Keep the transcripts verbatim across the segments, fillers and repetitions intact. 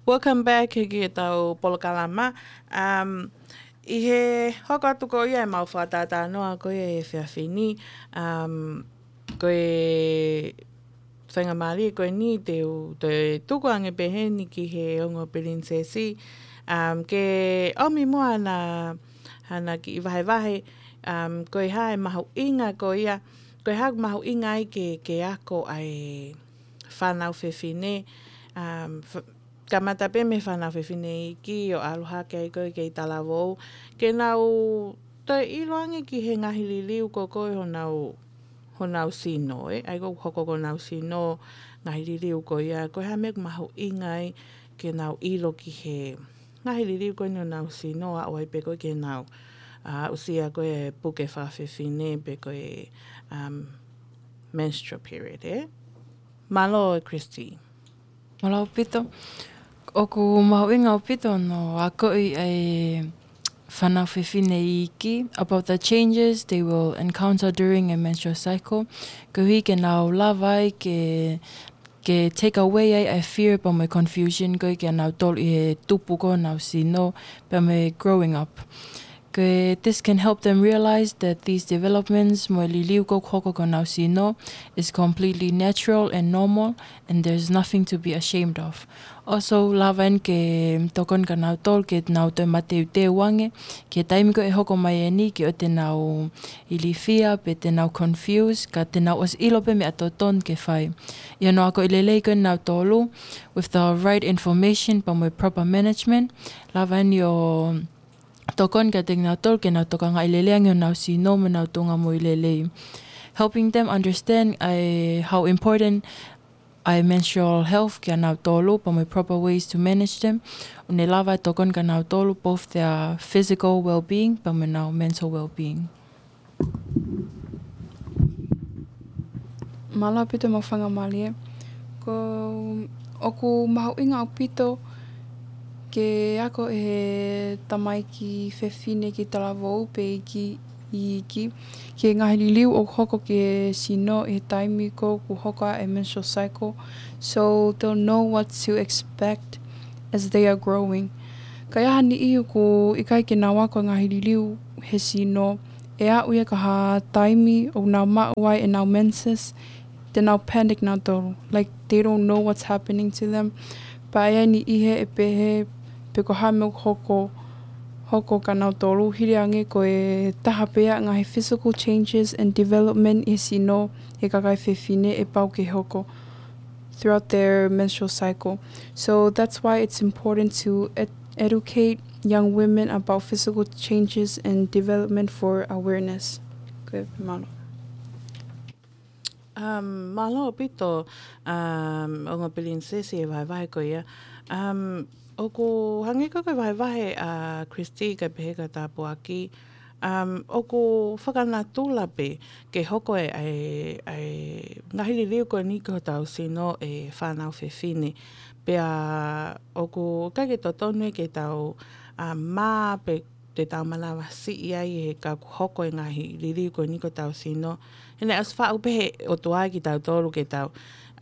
Welcome back ki heʻetau polokalama. Um, ʻi he hoko atu ko ia ʻemau fakatātānoa ko ia he efiafi ni, um, ko e faingamālie ko eni te u toe tuku ange pē heni ki he ongo pilinisesi, um, ke ʻomi muʻa hana, hana kiʻi vahevahe, um, ko e hā e mahuʻinga ko ia, ko e hā ʻoku mahuʻinga ai ke, ke ako ʻa e fānau fefine, um, f-, kamata pē mei he fānau fefine iiki ʻo ʻalu hake ai ko ē ki he talavou, ke nau toe ʻilo ange ki he ngaahi liliu ko ē ʻo honau, honau sino, ē? ʻA ia ʻoku hoko ko honau sino, ngaahi liliu ko ia, ko e hā e meʻa ʻoku mahuʻinga ai ke nau ʻilo ki he ngaahi liliu ko eni ʻo honau sino, ʻo aʻu ai pē ko ē ke nau, ā, aʻusia ko ē puke fakafefine pe ko e, um, menstrual period, ē? Mālō, Christy. Mālō ʻaupito. ʻOku mahuʻinga ʻaupito hono akoʻi ʻa e fānau fefine iiki about the changes they will encounter during a menstrual cycle. Koeʻuhi ke nau lava ai ke, ke take away ai ʻa e fear pea mo e confusion ko ē kia nautolu ʻi he tupu ko ē honau sino pea mo e growing up. Ko e, this can help them realize that these developments, mo e liliu ko ē ʻoku hoko ki honau sino, is completely natural and normal, and there's nothing to be ashamed of. Also, lava eni ke tokoni kia nautolu ke nau toe mateuteu ange ki he taimi ko ē ʻe hoko mai eni, ke ʻoua te nau ilifia pe te nau confuse, ka te nau ʻosi ʻilo pē meʻa totonu ke fai. ʻI hono akoʻi lelei ko ē nautolu with the right information pea mo e proper management, lava eni ʻo tokoni kiate kinautolu ke nau tokangaʻi lelei ange honau sino mo ʻenau tuʻunga moʻui lelei. Helping them understand ʻa e, how important ʻa e menstrual health kia nautolu pea mo e proper ways to manage them, ʻo ne lava ʻo tokoni kia nautolu both their physical well-being pea mo ʻenau mental well-being. Mālō ʻaupito mo e faingamālie. Ko, ʻoku mahuʻinga ʻaupito ke ako ʻe he tamaiki fefine ki he talavou pe iiki, iiki, ki he ngaahi liliu ʻoku hoko ki he sino ʻi he taimi ko ē ʻoku hoko ai e menstrual cycle. So they'll know what to expect as they are growing. Ka ʻi ai ha niʻihi ʻoku ʻikai ke nau ako e ngaahi liliu he sino, ʻe aʻu ia ki ha taimi ʻoku nau maʻu ai ʻenau menses, te nau panic nautolu. Like, they don't know what's happening to them. Pea ʻi ai e niʻihi ʻe pehē pe ko e hā e meʻa ʻoku hoko, hoko kia nautolu, hili ange ko e taha pē ia e ngaahi physical changes and development ʻi he sino ʻo e kakai fefine ʻe pau ke hoko throughout their menstrual cycle. So that's why it's important to ed-, educate young women about physical changes and development for awareness. Ko ia pē, mālō. Um, mālō ʻaupito, um, ongo pilinisesi e vahevahe ko ia. Um, ʻoku hangē ko e vahevahe ʻa Christy kae pehē ki he tāpuaki, um, ʻoku fakanatula pē ke hoko e, e, e ngaahi liliu ko eni ki hotau sino ʻe he fānau fefine. Pea ʻoku ʻikai ke totonu ia ke tau, um, mā pe te tau manavasiʻi ai he ka ʻoku hoko e ngaahi liliu ko eni ki hotau sino. He naʻe ʻosi faʻu pē ʻe he ʻOtua kitautolu ke tau,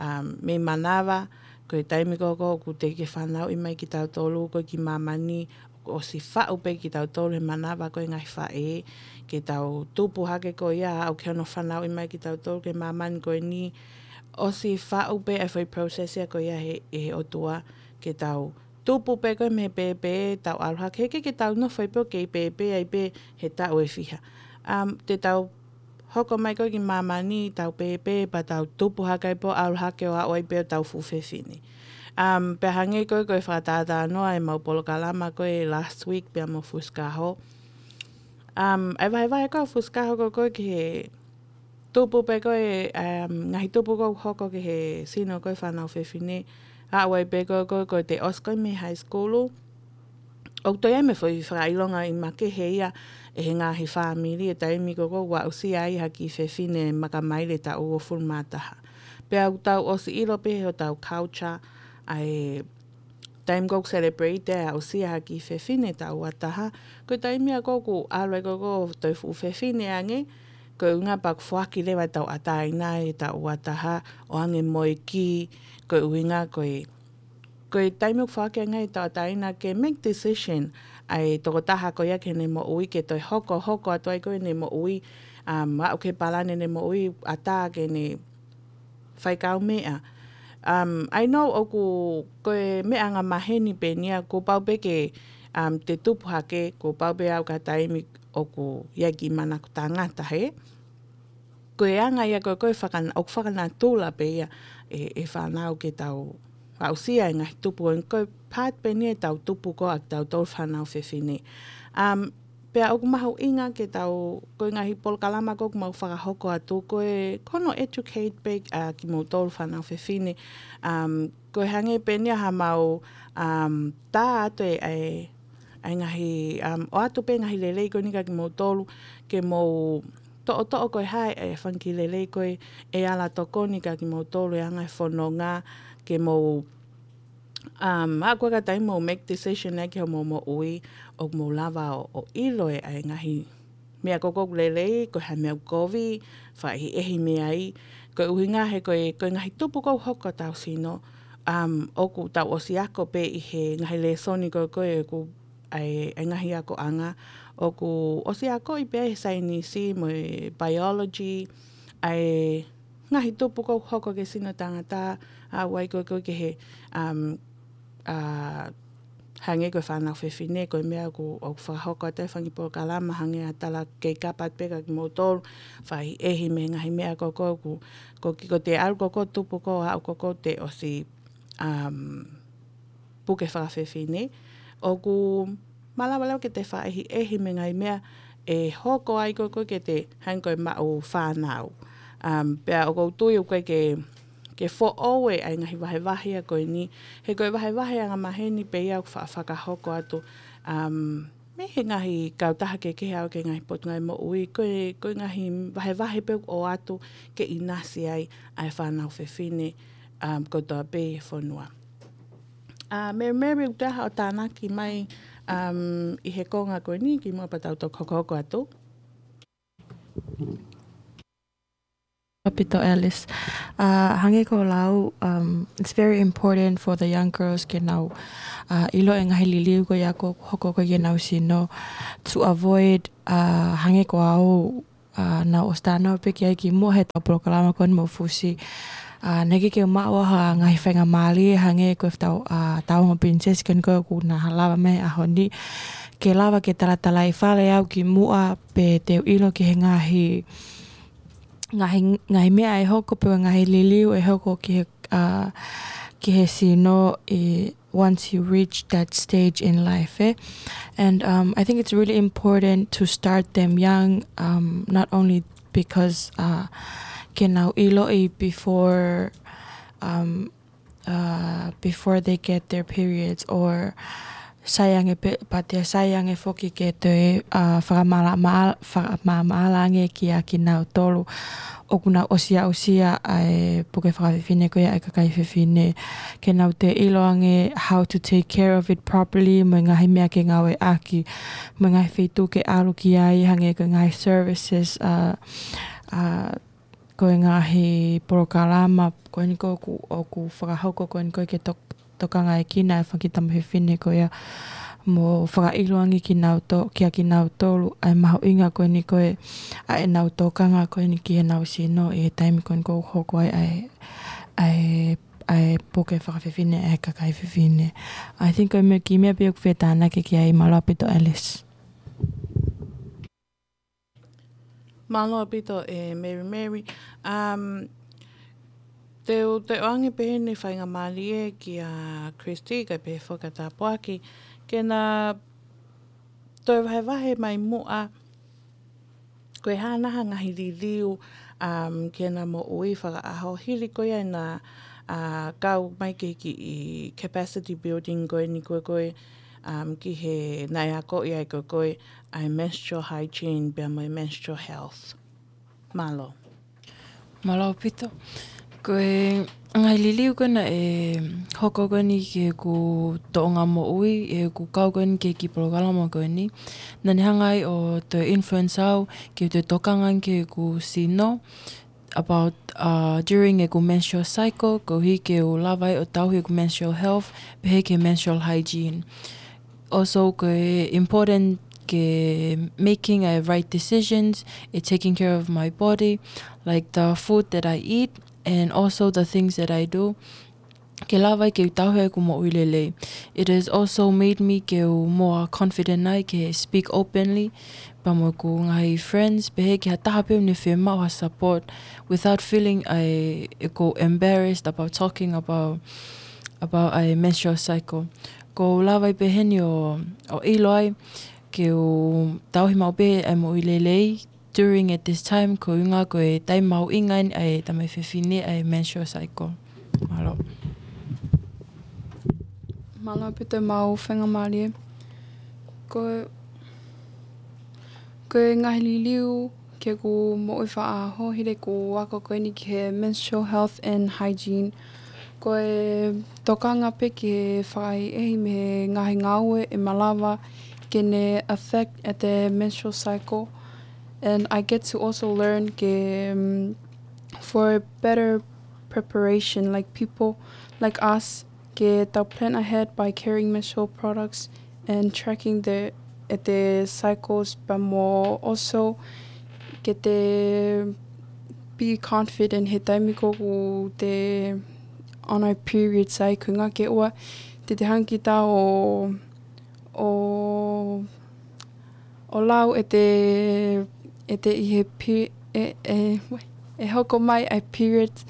um, mei manava, ko e taimi ko ē ʻoku teʻeki ke fanauʻi mai kitautolu ko ē ki māmani, ʻoku ʻosi faʻu pē kitautolu he manava ko ē ʻa e ngaahi faʻē, ke tau tupu hake ko ia, ʻo aʻu ki hono fanauʻi mai kitautolu ki māmani ko eni, ʻosi faʻu pē e foʻi process ia ko ia ʻe he, ʻe he ʻOtua, ke tau tupu pē ko ē mei he pēpē, tau ʻalu hake, heʻikai ke tau nofo ai pē ʻo kei pēpē ai pē he taʻu ʻe fiha. Um, te tau hoko mai ko ē ki māmani, tau pēpē, pea tau tupu hake ai pē ʻo ʻalu hake ʻo aʻu ai pē ʻo tau fuʻu fefine. Um, pea hangē ko ē ko e fakatātānoa ʻemau polokalama ko ē last week pea mo Fusikaho. Um, ʻa e vahevahe ko ē ʻa Fusikaho ko ē ko ē ki he tupu pē ko ē, um, ngaahi tupu ko ē ʻoku hoko ki he sino ko ē fānau fefine, aʻu ai pē ko ē ko ē, ko e te ʻosi ko ē mei he high school, ʻoku toe ʻi ai mo e foʻi fakaʻilonga ʻi makehe ia ʻe he ngaahi fāmili he taimi ko ē ʻoku aʻusia ai ha kiʻi fefine makamaile taʻu uofulu mā taha. Pea ʻoku tau ʻosi ʻilo pē ʻe hotau culture ʻa e taimi ko ē ʻoku celebrate ai e aʻusia ha kiʻi fefine taʻu ua taha, ko e taimi ia ko ē ʻoku ʻalu ai ko ē ko e toe fuʻu fefine ange, ko e ʻuhinga pea ʻoku foaki leva e tauʻatāina ʻi he taʻu ua taha ʻo hangē mo e kī, ko e ʻuhinga ko e ko e taimi ʻoku foaki ai ʻe he tauʻatāina ke make decision ʻa e tokotaha ko ia ki heʻene moʻui ke toe hoko, hoko atu ai ko ʻene moʻui, um, aʻu ki he palani ʻene moʻui ʻatā ke ne fai kaumeʻa. Um, I know ʻoku ko e meʻa angamaheni pē eni ia, kuo pau pē ke, um, te tupu hake, kuo pau pē aʻu ki ha taimi ʻoku ʻi ai e kiʻi manako tangata he. Ko e anga ia ko ē ko e fakana-, ʻoku fakanatula pē ia ʻe, ʻe fānau ke tau aʻusia e ngaahi tupu ko eni, ko e part pē eni ia ʻetau tupu ko ē ʻa kitautolu fānau fefine. Um, pea ʻoku mahuʻinga ke tau, ko e ngaahi polokalama ko ē ʻoku mau fakahoko atu, ko e, ko hono educate pē ʻa kimoutolu fānau fefine. Um, ko e hangē pē eni ia haʻamau, um, tā atu e, e, e ngaahi, um, ʻoatu pē ngaahi lelei ko eni kia kimoutolu, ke mou toʻotoʻo ko e hā e fanga kiʻi lelei ko ē ʻe ala tokoni kia kimoutolu he anga e fononga, ke mou, um, aʻu ko ē ki ha taimi mou make decision ai ki hoʻomou moʻui, ʻoku mou lava ʻo, ʻo ʻilo e, e ngaahi meʻa ko ē ʻoku lelei, ko e hā e meʻa ʻoku kovi, fakaʻehiʻehi mei ai, ko e ʻuhinga he ko e, ko e ngaahi tupu ʻoku hoko ʻi hotau sino, um, ʻoku tau ʻosi ako pē ʻi he ngaahi lēsoni ko ē ko ē ʻoku ʻa e, ʻa e ngaahi akoʻanga, ʻoku ʻosi akoʻi pē ʻe he saienisi mo e biology, ʻa e ngaahi tupu ʻoku hoko ki he sino tangata, aʻu ai ko ē ko ē ki he, um, uh, hangē ko e fānau fefine, ko e meʻa ʻoku, ʻoku fakahoko atu e fanga kiʻi polokalama, hangē ʻa e tala kei kapa pē kia kimoutolu, fakaʻehiʻehi mei he ngaahi meʻa ko ē ʻoku, ko e kiʻi, ko e te ʻalu ko ē ko e tupu ko ē, aʻu ko ē ko ē te ʻosi, um, puke fakafefine, ʻoku malava leva ke te fakaʻehiʻehi mei he ngaahi meʻa ʻe hoko ai ko ē ko ē ke te hangē ko e maʻu fānau. Um, pea ʻoku ou tui ʻoku ʻikai ke, ke foʻou e ʻa e ngaahi vahevahe ia ko eni, he ko e vahevahe angamaheni pē ia ʻoku fa-, fakahoko atu, um, mei he ngaahi kautaha kehekehe ʻo aʻu ki he ngaahi potungāue moʻui, ko e, ko e ngaahi vahevahe pē ʻoku ʻoatu ke ʻinasi ai ʻa e fānau fefine, um, kotoa pē ʻi he fonua. Uh, Mary Mary, ʻoku ʻi ai haʻo tānaki mai, um, ʻi he konga ko eni kimuʻa pea tau toki hokohoko atu. ʻAupito Alice. Uh, hangē ko e lau, um, it's very important for the young girls ke nau, uh, ʻilo e ngaahi liliu ko ia ʻoku hoko ko ē ki heʻenau sino to avoid, uh, hangē ko au, uh, naʻá ku ʻosi talanoa pē ki ai kimuʻa heʻetau polokalama ko eni mo Fusi. Uh, naʻe ʻikai ke u maʻu ha ngaahi faingamālie hangē ko ʻetau, uh, tauongo pilinisesi ko eni ko ē ʻoku na lava mai he ʻaho ni. Ke lava ke talatalaifale au kimuʻa pea te u ʻilo ki he ngaahi, ngaahi, ngaahi meʻa ʻe hoko pe ngaahi liliu ʻe hoko ki he, uh, ki he sino ʻi once you reach that stage in life, eh? And, um, I think it's really important to start them young, um, not only because, uh, ke nau ʻiloʻi before, um, uh, before they get their periods or sai ange pē, but ʻe sai ange foki ke toe, uh, fakamala-, ma-, fakamamaʻala ange kia kinautolu ʻoku nau ʻosi aʻusia ʻa e puke fakafefine ko ia ʻa e kakai fefine. Ke nau toe ʻilo ange how to take care of it properly, mo e ngaahi meʻa ke ngāueʻaki, mo e ngaahi feituʻu ke ʻalu ki ai, hangē ko e ngaahi services, uh, uh, ko e ngaahi polokalama ko eni ko ē ʻoku, ʻoku fakahoko ko eni ko ē ke tok-, tokangaʻekina e fanga kiʻi tama fefine ko ia mo fakaʻilo ange kinauto-, kia kinautolu ʻa e mahuʻinga ko eni ko ē ʻa ʻenau tokanga ko eni ki heʻenau sino ʻi he taimi ko eni ʻoku hoko ai ʻa e, ʻa e, ʻa e puke fakafefine ʻa e kakai fefine. I think ko e meʻa, kiʻi meʻa pē ʻoku fetānaki ki ai. Mālō ʻaupito Alice. Mālō ʻaupito ʻe Mary Mary. Um, te u, te u ʻoange pē heni e faingamālie kia Christy, kae pehē foki kia Tāpuaki, ke na toe vahevahe mai muʻa, ko e hā nai ha ngaahi liliu, um, ki heʻena moʻui fakaʻaho hili ko ia ʻena, uh, kau mai ki he kiʻi capacity building ko eni ko ē ko ē, um, ki he naʻe akoʻi ai ko ē ko ē ʻa e menstrual hygiene pea mo e menstrual health. Mālō. Mālō ʻaupito. Ko e ngaahi liliu ko ē naʻe hoko ko eni ki heʻeku tōʻonga moʻui, heʻeku kau ko eni ki he kiʻi polokalama ko eni. Naʻá ne hanga ai ʻo toe influence au ke u toe tokanga ki heʻeku sino. about uh, during ʻeku menstrual cycle, koeʻuhi ke u lava ai ʻo tauhi ʻeku menstrual health, pehē ki he menstrual hygiene. Also, ko e important ke making a right decisions, e taking care of my body, like the food that I eat, and also the things that I do. Ke lava ai ke u tauhi ʻeku moʻui lelei. It has also made me ke u more confident ai ke speak openly pea mo ʻeku ngaahi friends, pehē ki ha taha pē ʻoku ne fiemaʻu ha support without feeling ʻa e ʻeku embarrassed about talking about, about ʻa e menstrual cycle. Ko u lava ai pē heni ʻo, ʻo ʻilo ai ke u tauhi maʻu pē ʻa e moʻui lelei during at this time, ko e ʻuhinga ko e taimi mahuʻinga eni ʻa e tamaiki fefine ʻa e menstrual cycle. Mālō. Mālō ʻaupito e mau faingamālie. Ko, ko e ngaahi liliu ki heʻeku moʻui fakaʻaho, hili ʻeku ako ko eni ki he menstrual health and hygiene. Ko e tokanga pē ki he fakaʻehiʻehi mei he ngaahi ngāue ʻe malava ke ne affect at the menstrual cycle. And I get to also learn ke, um, for a better preparation, like people like us, ke tau plan ahead by carrying menstrual products and tracking the, at the cycles, but more also ke te be confident he taimi ko ē ʻoku te on our periods ai, ko e ʻuhinga ke ʻoua te te hanga kita ʻo, ʻo, ʻo lau ʻe te, ʻe te ʻi he pe-, ʻe, ʻe, ʻe hoko mai ʻa e periods,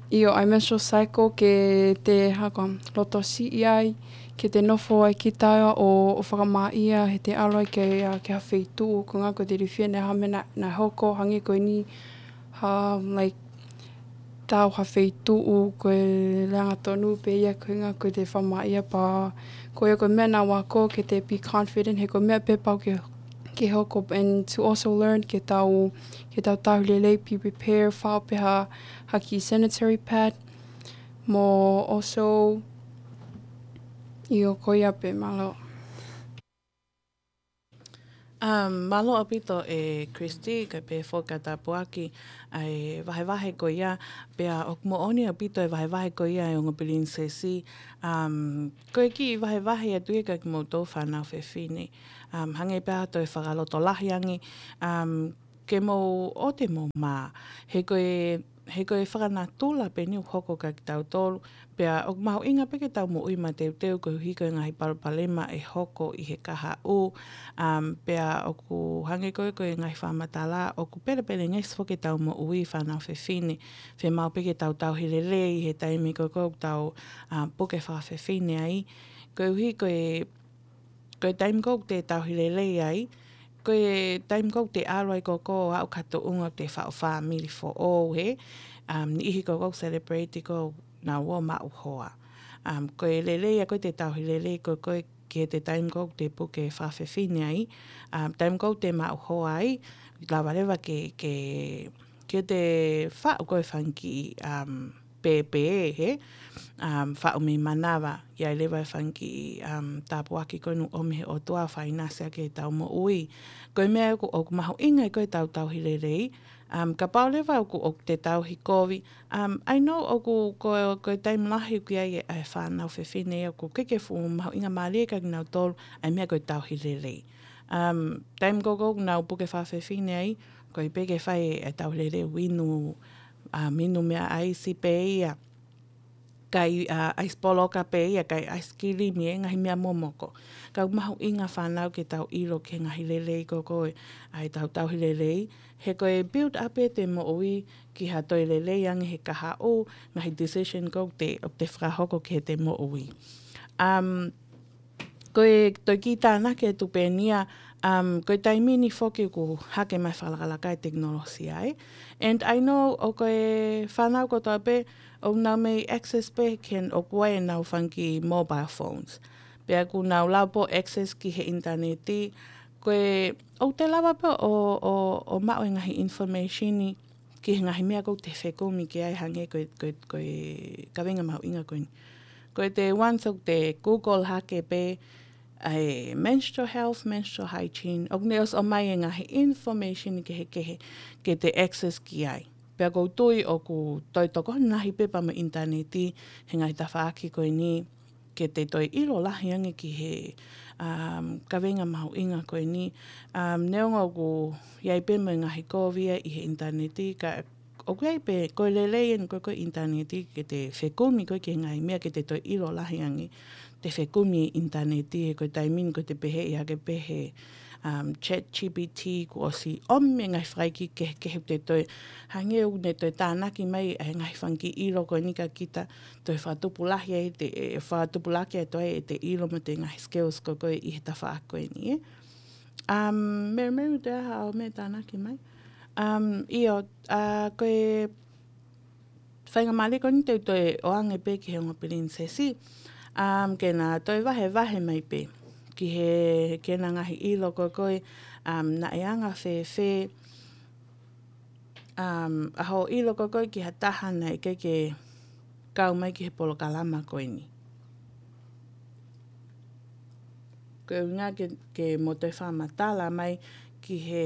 ʻio, ʻa e menstrual cycle ke te hanga ʻo lotosiʻi ai, ke te nofo ai kita ʻo, ʻo fakamāʻia, he te ʻalu ai ke, ʻa, ki ha feituʻu, ko e ʻuhinga ko e te ilifia naʻe ʻi ai ha meʻa naʻe, naʻe hoko, hangē ko eni, ha, like, tau ha feituʻu, ko e lea angatonu pē ia, ko e ʻuhinga ko e te fakamāʻia pea, ko ia ko e meʻa naʻá ku ako ke te be confident, he ko e meʻa pē pau ke, ke hoko, and to also learn ke tau, ke tau tauhi lelei, be prepared, fai pē ha, ha kiʻi sanitary pad, mo also, ʻio ko ia pē, mālō. Um, mālō ʻaupito ʻe Christy, kae pehē foki ki he tāpuaki ʻa e vahevahe ko ia, pea ʻoku moʻoni ʻaupito e vahevahe ko ia ʻa e ongo pilinisesi. Um, ko e kiʻi vahevahe atu ia kiate kimoutolu fānau fefine. Um, hangē pē ha toe fakalotolahi ange, um, ke mou ʻoua te mou mā. He ko e, he ko e fakanatula pē eni ʻoku hoko kiate kitautolu, pea ʻoku mahuʻinga pē ke tau moʻui mateuteu koeʻuhi ko e ngaahi palopalema ʻe hoko ʻi he kahaʻu, um, pea ʻoku hangē ko e, ko e ngaahi fakamatala, ʻoku pelepelengesi foki ʻetau moʻui fānau fefine, fiemaʻu pē ke tau tauhi lelei he taimi ko ē ʻoku tau, uh, puke fakafefine ai, koeʻuhi ko e ko e taimi ko ē ʻoku te tauhi lelei ai, ko e taimi ko ē ʻoku te ʻalu ai ko ē ʻo aʻu ki ha tuʻunga ʻoku te faʻu fāmili foʻou hē, um, niʻihi ko ē ʻoku celebrate ko ē ʻenau ō maʻu hoa. Um, ko e lelei ia ko ē ʻete tauhi lelei ko ē, ko ē ki he taimi ko ē ʻoku te puke fakafefine ai, um, taimi ko ē ʻoku te maʻu hoa ai, lava leva ke, ke, ke te faʻu ko ē fanga kiʻi, um, pēpē, hē, um, faʻu mei manava, ʻi ai leva e fanga kiʻi, um, tāpuaki ko ē naʻe ʻomi he ʻOtua ʻo fai ʻinasi ʻaki ʻetau moʻui. Ko e meʻa ʻoku, ʻoku mahuʻinga ia ko ē ʻetau tauhi lelei, um, kapau leva ʻoku, ʻoku te tauhi kovi, um, I know ʻoku ko, ko e taimi lahi ʻoku ʻi ai e, e fānau fefine ʻoku ʻikai ke fuʻu mahuʻingamālie kiate kinautolu ʻa e meʻa ko e tauhi lelei. Um, taimi ko ē ʻoku nau puke fakafefine ai, ko e pē ke fai e tauhi lelei ʻo inu, um, inu meʻa ʻaisi pē ia, kai, uh, ʻaisi poloka pē ia, kai ʻaisikilimi, e ngaahi meʻa momoko. Ka ʻoku mahuʻinga fānau ke tau ʻilo ki he ngaahi lelei ko ē ʻa ʻetau tauhi lelei, he ko e build up ʻete moʻui ki ha toe lelei ange he kahaʻu, ngaahi decision ko ē ʻoku te, ʻoku te fakahoko ki heʻete moʻui. Um, ko e toe kiʻi tānaki atu pē eni ia, um, ko e taimi ni foki ʻoku hake mai fakalakalaka e tekinolosia, ē. And I know ʻoku ko e fānau kotoa pē ʻoku nau mei access pē ki he, ʻoku ʻi ai ʻenau fanga kiʻi mobile phones. Pea ʻoku nau lava pē ʻo access ki he ʻinitaneti, ko e, ʻoku te lava pē ʻo, ʻo, ʻo maʻu e ngaahi information ni ki he ngaahi meʻa ʻoku te fekumi ki ai hangē ko e, ko e, ko e kaveinga mahuʻinga ko eni. Ko e te once ʻoku te Google hake pē, ʻa e menstrual health, menstrual hygiene, ʻoku ne ʻosi ʻomai e ngaahi information kehekehe ke te access ki ai. Pea ʻoku ou tui ʻoku toe tokoni lahi pē pea mo e ʻinitaneti he ngaahi tafaʻaki ko eni ke te toe ʻilo lahi ange ki he, um, kaveinga mahuʻinga ko eni. Um, neongo ʻoku ʻi ai pē mo e ngaahi kovi ia ʻi he ʻinitaneti, ka ʻoku ʻi ai pē, ko e lelei eni ko e, ko e ʻinitaneti ke te fekumi ko e ki he ngaahi meʻa ke te toe ʻilo lahi ange. Te fekumi ʻinitaneti he ko e taimi ni ko e te pehē ia ke pehē, um, ChatGPT kuo ʻosi ʻomi e ngaahi fakaʻeiki kehekehe te toe hangē ʻoku ne toe tānaki mai e ngaahi fanga kiʻi ʻilo ko eni kia kita, toe fakatupulaki ai te, e, fakatupulaki ai toe e te ʻilo mo e te ngaahi skills ko e ko e ʻi he tafaʻaki ko eni, ē. Um, Mary Mary, te aha au me tānaki mai. Um, ʻio, a, ko e faingamālie ko eni te u toe ʻoange pē ki he ongo pilinisesi. Um, ke na toe vahevahe mai pē ki he, ke na ngaahi ʻilo ko e ko e, um, naʻe anga fēfē, um, ʻa hoʻo ʻilo ko e ko e ki ha taha naʻe ʻikai ke kau mai ki he polokalama ko eni. Ko e ʻuhinga ke, ke mo toe fakamatala mai ki he